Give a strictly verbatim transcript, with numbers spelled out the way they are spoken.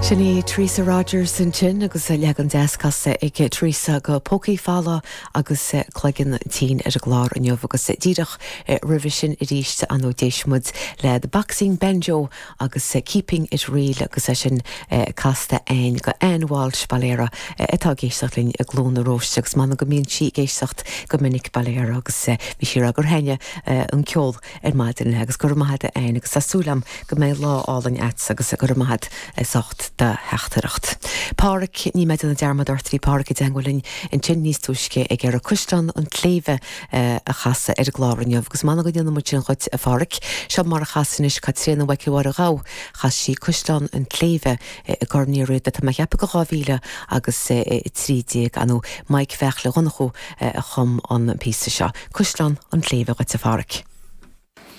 Sin í Teresa Rogers ansin agus leagan deas casta ag Teresa go Pócaí Folamha agus Cloigeann Tinn ar an gclár inniu agus díreach roimhe sin arís an d'éist muid le The Boxing Banjo agus Keeping It Real agus é sin casta againn do Ann Walsh Baile Heara atá ag éisteacht linn i gCluain na Róiste agus man go mbíonn sí ag éisteacht go minic Baile Heara agus bhí sí gur thaitin an ceol ar maidin agus gur maith Ann agus tá súil agam go mbeidh lá álainn agat agus gur maith socht do theachtaireacht. Páraic ní mbeidh an dearmad ort bhí Páraic i dteagmháil linn ansin níos túisce ag ar a Cuisleán an tSléibhe a chasadh ar an gclár inniu agus man go ndéana muid sin dhuit a Pháraic. Seo mar a chas anois Caitríona Mhic Mhaire chas sí Cuisleán an tSléibhe i gCorn Uí Riada tá mé ag ceapadh go dhá mhíle agus trí déag anú Mike Bheartla Dhonnchú a chum an píosa seo. Cuisleán an tSléibhe dhuit a Pháraic.